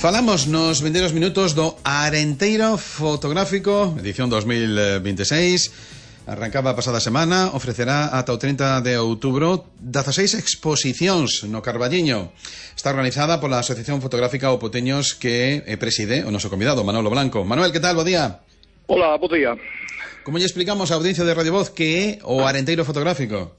Falamos nos vindeiros minutos do Arenteiro Fotográfico, edición 2026. Arrancaba a pasada semana, ofrecerá ata o 30 de outubro 16 exposicións no Carballiño. Está organizada pola Asociación Fotográfica O Poteños que preside o noso convidado, Manolo Blanco. Manuel, que tal? Bo día. Hola, bo día. Como lle explicamos á audiencia de Radio Voz que é o Arenteiro Fotográfico?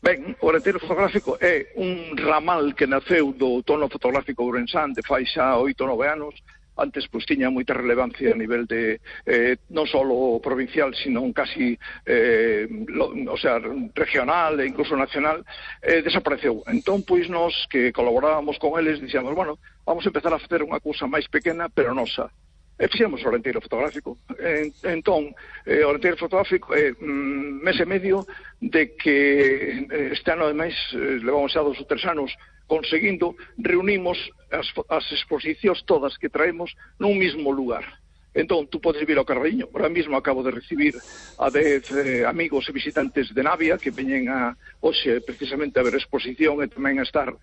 Ben, o Arenteiro Fotográfico é un ramal que naceu do tono fotográfico ourensán de fai xa 8 ou 9 anos. Antes pois tiña moita relevancia a nivel de non só provincial, sino casi regional e incluso nacional. Desapareceu. Entón, pois nós que colaborábamos con eles dixemos, bueno, vamos a empezar a facer unha cousa máis pequena, pero nosa. E fixemos o Arenteiro Fotográfico. Entón, o Arenteiro Fotográfico é mes e medio de que este ano, ademais, levamos xa 2 ou 3 anos conseguindo, reunimos as exposicións todas que traemos nun mesmo lugar. Entón, tú podes vir ao Carballiño. Ahora mesmo acabo de recibir a 10 amigos e visitantes de Navia que veñen hoxe precisamente a ver a exposición e tamén a estar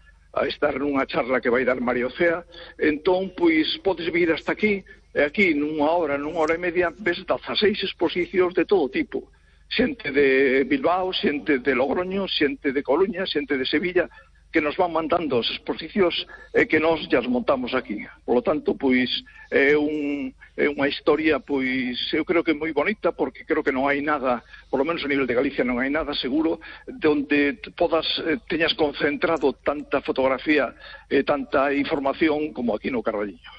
nunha charla que vai dar Mario Cea. Entón, pois, podes vir hasta aquí, e aquí nunha hora e media ves 16 exposicións de todo tipo. Xente de Bilbao, xente de Logroño, xente de Coruña, xente de Sevilla, que nos van mandando as exposicións e que nós já as montamos aquí. Por lo tanto, pois, é unha historia, pois, eu creo que moi bonita, porque creo que non hai nada, por lo menos a nivel de Galicia non hai nada seguro, donde teñas concentrado tanta fotografía e tanta información como aquí no Carballiño.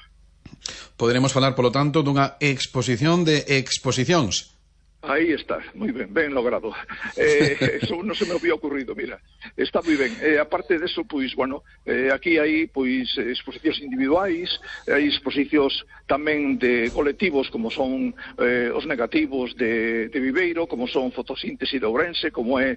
Poderemos falar, polo tanto, dunha exposición de exposicións. Aí está, moi ben, ben logrado. Eso non se me había ocurrido, mira. Está moi ben. Aparte deso, pois, bueno, aquí hai, pois, exposicións individuais, hai exposicións tamén de colectivos, como son os negativos de Viveiro, como son Fotosíntese de Ourense, como é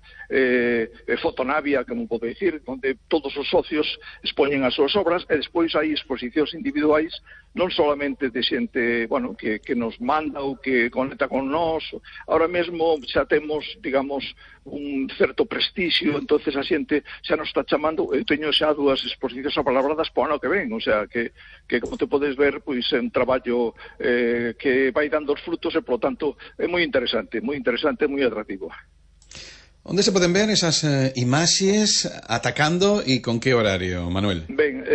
Fotonavia, como pode dicir, onde todos os socios expoñen as súas obras, e despois hai exposicións individuais, non solamente de xente, bueno, que nos manda ou que conecta con nós. Ahora mesmo xa temos, digamos, un certo prestixio, entonces a xente xa nos está chamando. Eu teño xa 2 exposicións apalabradas para o ano que ven, o sea, que como te podes ver, pois é un traballo que vai dando os frutos e, polo tanto, é moi interesante, moi atractivo. Onde se poden ver esas imaxes atacando e con que horario, Manuel? Ben,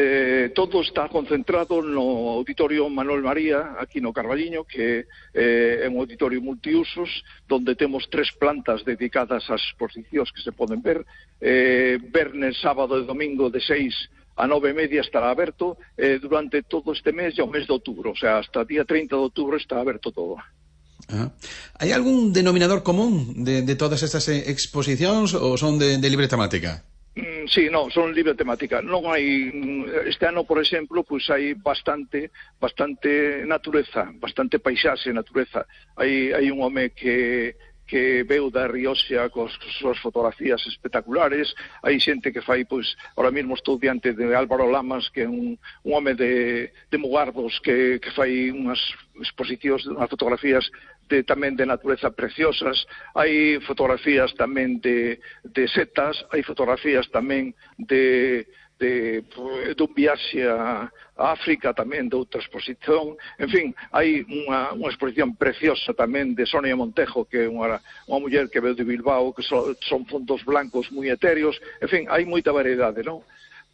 todo está concentrado no Auditorio Manuel María, aquí no Carballiño, que é un auditorio multiusos, donde temos 3 plantas dedicadas ás exposicións que se poden ver. Vernes, sábado e domingo de 6 a 9:30 estará aberto, durante todo este mes e o mes de outubro, o sea, hasta o día 30 de outubro está aberto todo. Hai algún denominador común de todas estas exposicións ou son de libre temática? Sí, non, son libre temática. Non hai, este ano, por exemplo, pois hai bastante natureza, bastante paisaxe, natureza. Hai un home que veu da Rioxa con súas fotografías espectaculares. Hai xente que fai, pois, ahora mesmo estou diante de Álvaro Lamas, que é un home de Mugardos, que fai unhas exposicións, unhas fotografías tamén de natureza preciosas. Hai fotografías tamén de setas, hai fotografías tamén dun viaxe a África, tamén de outra exposición. En fin, hai unha exposición preciosa tamén de Sonia Montejo, que é unha muller que veu de Bilbao, que son fondos blancos moi etéreos. En fin, hai moita variedade, non?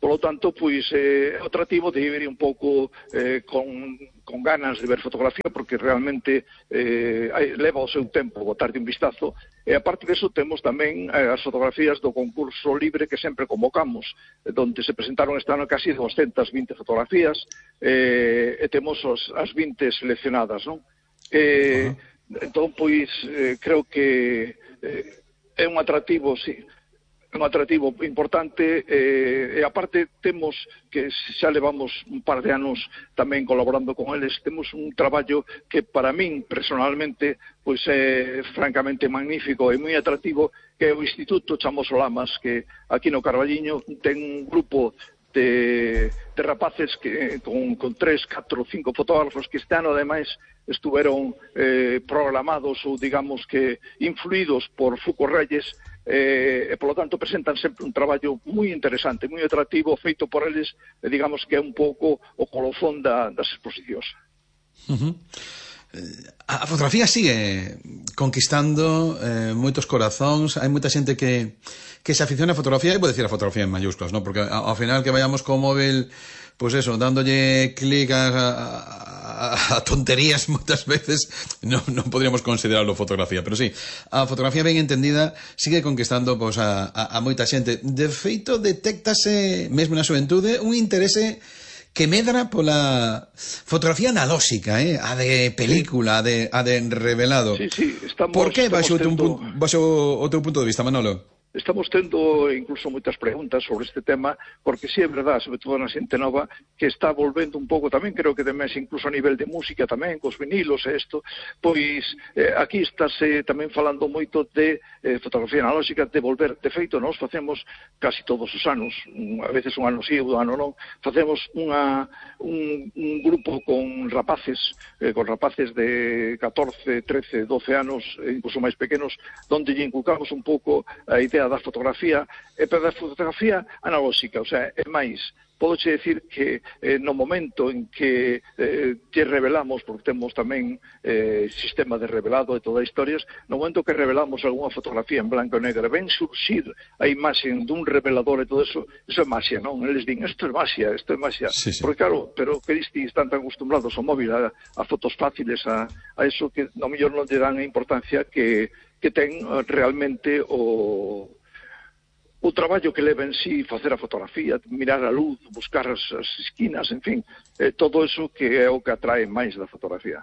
Por lo tanto, pois, é atractivo de ir un pouco con ganas de ver fotografía, porque realmente leva o seu tempo botarlle un vistazo. E aparte disso, temos tamén as fotografías do concurso libre que sempre convocamos, donde se presentaron este ano casi 220 fotografías, e temos as 20 seleccionadas, non? Entón, pois, creo que é un atractivo, sí, un atractivo importante, e aparte temos que xa levamos un par de anos tamén colaborando con eles. Temos un traballo que para min personalmente pois é francamente magnífico e moi atractivo, que é o Instituto Chamoso Lamas, que aquí no Carballiño ten un grupo de rapaces que con 3, 4, 5 fotógrafos que este ano ademais estuveron programados ou digamos que influídos por Fuco Reyes, polo tanto presentan sempre un traballo moi interesante, moi atractivo, feito por eles, digamos que é un pouco o colofón das exposicións. A fotografía sigue conquistando moitos corazóns. Hai moita xente que se aficiona a fotografía, e vou decir a fotografía en mayúsculas, ¿no? Porque ao final que vayamos co móvil, pues eso, dándolle clic a tonterías moitas veces, non podríamos considerarlo fotografía, pero sí, a fotografía ben entendida sigue conquistando pues, a moita xente. De feito, detéctase mesmo na xuventude un interese que medra pola fotografía analóxica, a de película, a de revelado. Sí, estamos... Por que baixo o teu punto de vista, Manolo? Estamos tendo incluso moitas preguntas sobre este tema, porque sí é verdad, sobre todo na xente nova, que está volvendo un pouco tamén, creo que de mes incluso a nivel de música tamén, cos vinilos e isto, pois aquí estáse tamén falando moito de fotografía analóxica, de volver, de feito, nós facemos casi todos os anos, a veces un ano sí, un ano non, facemos un grupo con rapaces de 14, 13, 12 anos, incluso máis pequenos, donde lle inculcamos un pouco a idea da fotografía, pero da fotografía analóxica, o sea, é máis, podoche decir que no momento en que te revelamos, porque temos tamén sistema de revelado e todas as historias, no momento que revelamos algunha fotografía en blanco e negro, ven surxir a imaxe dun revelador e todo eso é magia, non? Eles din, isto é magia, sí. Porque claro, pero que distis están tan acostumbrados ao móvil, a fotos fáciles, a eso que no mellor non lle dan a importancia que ten realmente o traballo que leva en sí facer a fotografía, mirar a luz, buscar as esquinas, en fin, todo eso que é o que atrae máis da fotografía.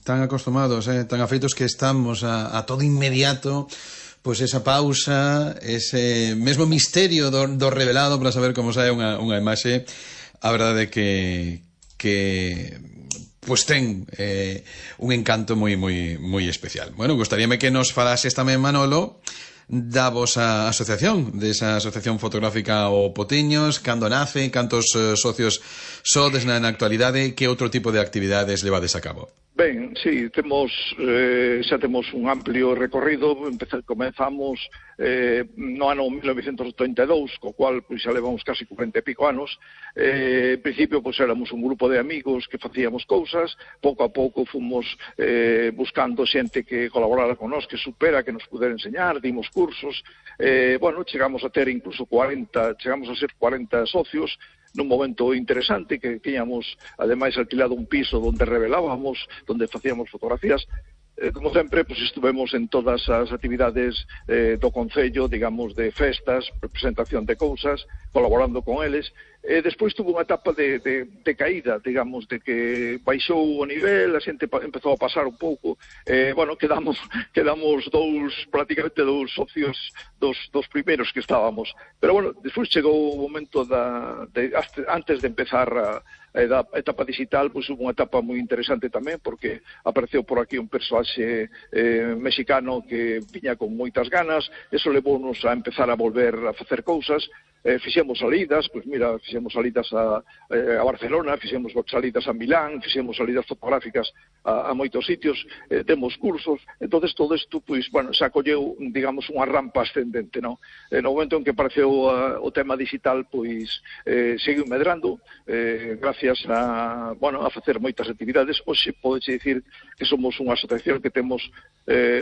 Tan acostumados, tan afeitos que estamos a todo inmediato, pois esa pausa, ese mesmo misterio do revelado para saber como sae unha imaxe. A verdade que pois ten un encanto moi especial. Bueno, gustaríame que nos falases tamén, Manolo, da vosa asociación, desa asociación fotográfica O Potiños, cando nace, cantos socios sodes na actualidade, que outro tipo de actividades levades a cabo? Ben, sí, xa temos un amplio recorrido, comenzamos no ano 1982, co cual pois, xa levamos casi 40 e pico anos. En principio, pois, éramos un grupo de amigos que facíamos cousas, pouco a pouco fomos buscando xente que colaborara con nós, que supera, que nos pudera enseñar, dimos cursos, chegamos a ter incluso 40 socios, nun momento interesante, que tiñamos, ademais, alquilado un piso onde revelábamos, onde facíamos fotografías. Como sempre, pues, estuvemos en todas as actividades do Concello, digamos, de festas, presentación de cousas, colaborando con eles. Despois tuvo unha etapa de caída, digamos, de que baixou o nivel, a xente empezou a pasar un pouco, quedamos prácticamente dous socios dos primeiros que estábamos. Pero, despois chegou o momento antes de empezar a etapa digital, pois hubo unha etapa moi interesante tamén, porque apareceu por aquí un persoaxe mexicano que viña con moitas ganas, eso levounos a empezar a volver a facer cousas. Fixemos salidas, fixemos salidas a Barcelona, fixemos salidas a Milán, fixemos salidas fotográficas a moitos sitios, demos cursos. Entonces todo isto, se acolleu, digamos, unha rampa ascendente, non? No momento en que apareceu o tema digital, seguiu medrando, gracias a facer moitas actividades. Hoxe podeche dicir que somos unha asociación que temos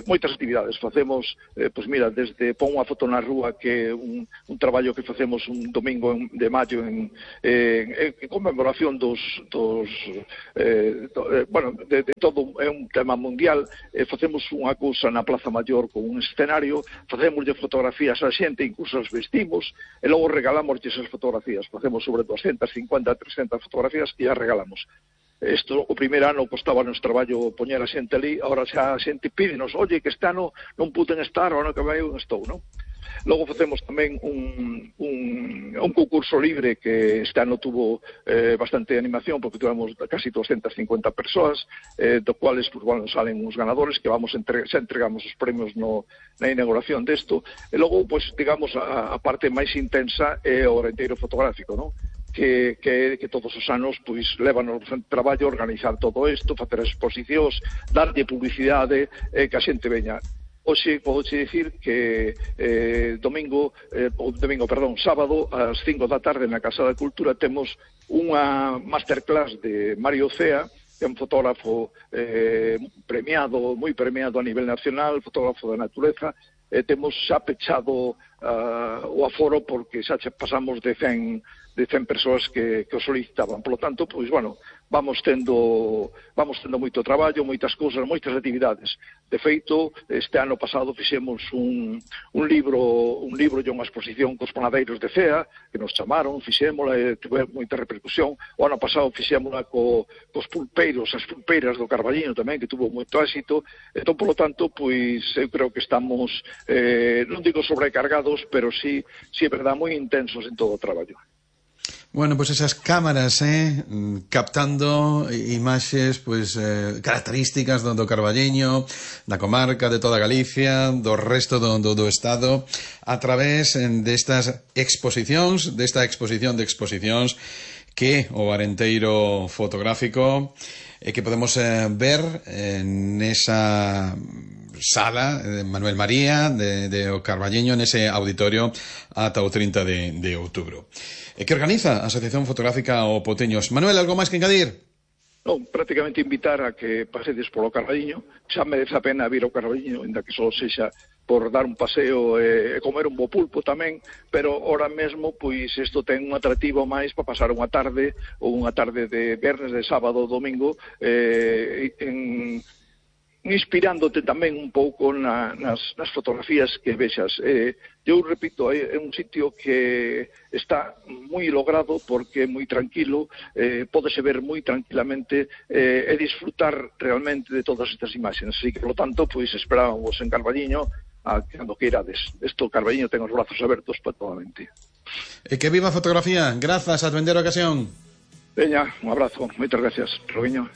moitas actividades. Facemos, desde pon unha foto na rúa, que é un traballo que facemos un domingo de maio en conmemoración de todo, é un tema mundial. Facemos unha cousa na Plaza Maior con un escenario, facemoslle fotografías a xente, incluso as vestimos, e logo regalamos esas fotografías. Facemos sobre 250, 300 fotografías e as regalamos. Isto, o primeiro ano, costaba nos traballo poñer a xente ali, agora xa a xente pídenos, oye, que este ano non puden estar, o ano que vai eu estou, non? Logo facemos tamén un concurso libre que este ano tuvo bastante animación, porque tuvemos casi 250 persoas, do cuales salen uns ganadores que xa entregamos os premios na inauguración desto. E logo, digamos, a parte máis intensa é o renteiro fotográfico, non? Que todos os anos levanos traballo organizar todo isto, facer exposicións, darlle publicidade, que a xente veña. Hoxe podo dicir que sábado ás 5 da tarde na Casa da Cultura temos unha masterclass de Mario Cea, que é un fotógrafo moi premiado a nivel nacional, fotógrafo da natureza. Temos xa pechado o aforo porque xa pasamos de 100 persoas que o solicitaban. Por lo tanto, pois, bueno, vamos tendo moito traballo, moitas cousas, moitas actividades. De feito, este ano pasado fixemos un libro e unha exposición cos panadeiros de Cea, que nos chamaron, fixémola e tuve moita repercusión. O ano pasado fixémola cos pulpeiros, as pulpeiras do Carballiño tamén, que tuvo moito éxito. Entón, por lo tanto, pois, eu creo que estamos, non digo sobrecargados, pero sí é verdade, moi intensos en todo o traballo. Bueno, pues esas cámaras, captando imaxes, pues, características do Carballiño, da comarca, de toda Galicia, do resto do Estado, a través destas exposicións, desta exposición de exposicións que o Arenteiro fotográfico que podemos ver nesa sala de Manuel María de o Carballiño, nese auditorio ata o 30 de outubro. Que organiza a Asociación Fotográfica O Poteños. Manuel, algo máis que engadir? Non, prácticamente invitar a que pasedes polo Carballiño. Xa merece a pena vir ao Carballiño, ainda que só sexa por dar un paseo e comer un bo pulpo tamén, pero ahora mesmo, pois, isto ten un atractivo máis para pasar unha tarde, ou unha tarde de viernes, de sábado, domingo, inspirándote tamén un pouco nas fotografías que vexas. Eu repito, é un sitio que está moi logrado porque é moi tranquilo, pódese ver moi tranquilamente e disfrutar realmente de todas estas imaxes. Así que, por lo tanto, pois esperábamos en Carballiño cando que irades. Esto, Carballiño, ten os brazos abertos para toda a mente. E que viva a fotografía. Grazas, a vender a ocasión. Veña, un abrazo. Moitas gracias, Robiño.